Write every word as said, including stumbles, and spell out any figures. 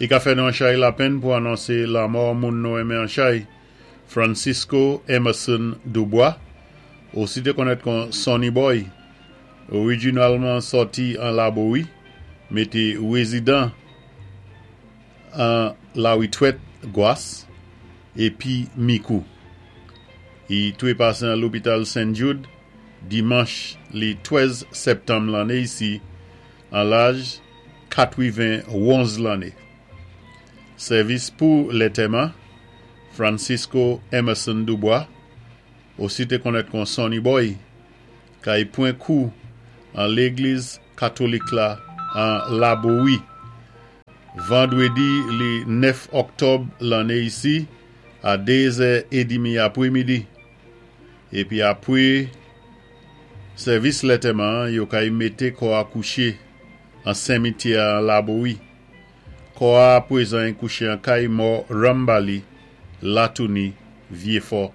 I ka fè nou an chay lapenn pou anonsé lamò moun nou enmen an chay, Francisco Emerson Dubois, osi té konnèt kon Sonny Boy, orijinalman sòti an Labowi, mé té wézidan an Lawitwèt Gwas, épi Mikou. I twépasé an lopital Saint Jude, dimanch li twèz sèptanm lanné isi, an laj katwiven-wonz lanné. Sèvis pou lantèman, Francisco Emerson Dubois, osi té konnèt kon Sonny Boy, kay pwan kou an légliz katolik la an Labowi. Vandwédi li nèf òktòb lanné isi, a dézè édmi apwémidi. Épi apwé sèvis lantèman, yo kay mété kò a kouché an simityè an Labowi. Kò a apwézan kouché an kay mò Rambali, Latouni, Vyéfò.